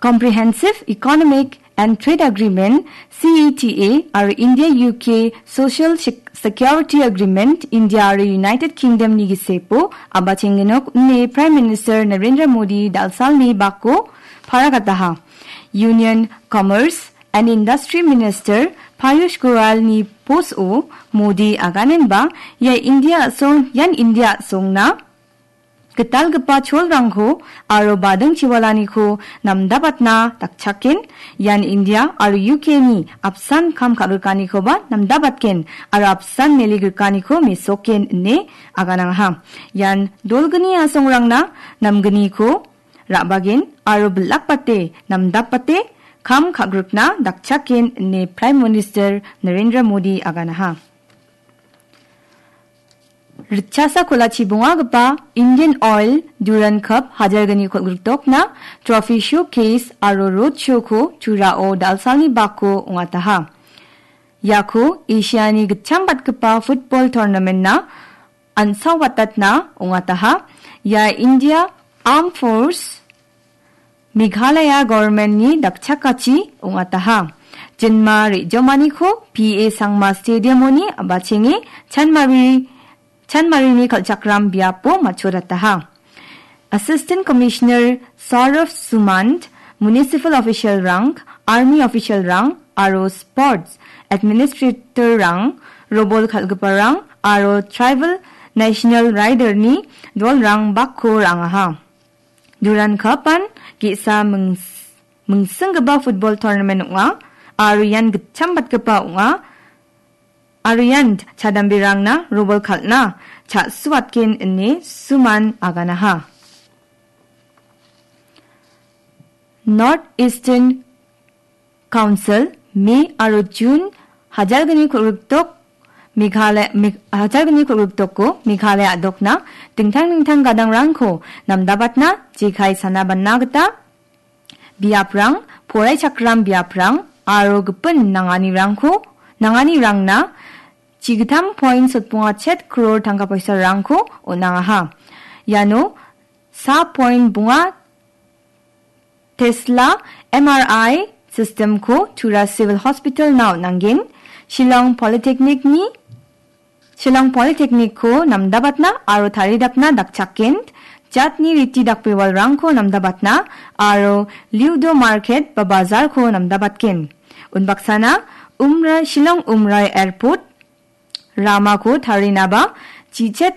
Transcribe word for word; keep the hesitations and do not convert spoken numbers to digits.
Comprehensive Economic and Trade Agreement, C E T A, aro India U K Social Sec-, Security Agreement, India aro United Kingdom-ni gisepo a·bachengenok ine Prime Minister Narendra Modi dal·salni bako paragataha. Union Commerce and Industry Minister Piyush Goyal-ni post-o Modi aganenba ia India a·song, ian India a·songna gitalgipa cholrangko aro bading chiwalaniko namdabatna dakchaken, ian India aro U K-ni apsan kam ka·grikanikoba namdabatgen aro apsan mele grikaniko mesoken ine aganangaha. Ian dolgni a·songrangna namgniko ra·bagen aro bilakbate namdapbate kam ka·grikna dakchaken ine Prime Minister Narendra Modi aganaha. Ritchasa kolachi bongagipa Indian Oil Durand Cup hajalgni kol·griktokna Trophy Showcase aro Road Show-ko Turao dal·salni bako ong·ataha. Iako Asiani gitchambatgipa football tournament-na an·saobatatna ong·ataha. Ia India Armed Force Meghalaya Government-ni dakchakachi ong·ataha. Jinma re·jomaniko P A Sangma Stadium-oni a·bachenge Chanmari, Chanmarini kal·chakram biapo matchotataha. Assistant Commissioner Saurav Sumant, Municipal Official-rang, Army Official-rang, aro Sports Administrator-rang, robol kal·giparang, aro Tribal National Rider-ni dolrang bakko ra·angaha. Durand Cup-an ge·sa mings-, mingsinggipa football tournament ong·a, aro ian gitchambatgipa ong·a, aro ian chadamberangna robol kal·na cha·suatgen ine Sumant aganaha. North Eastern Council, May aro June hajalgni kol·griktok Meghalaya, Meg-, hajalgni kol·griktoko Meghalaya a·dokna dingtang dingtang gadangrangko namdabatna jekai sana bana gita biaprang, poraichakram biaprang aro gipin nanganirangko, nanganirangna chigittam point sotbonga chet crore tangka poisarangko on·angaha. Iano sa point bonga Tesla M R I system-ko Tura Civil Hospital-na on·angen, Shillong Polytechnic-ni, Shillong Polytechnic-ko namdabatna aro taridapna dakchaken, jatni riti dakbewalrangko namdabatna aro Liudo Market ba bazar-ko namdabatgen. Unbaksana Umra-, Shillong Umrai Airport ramako tarinaba chichet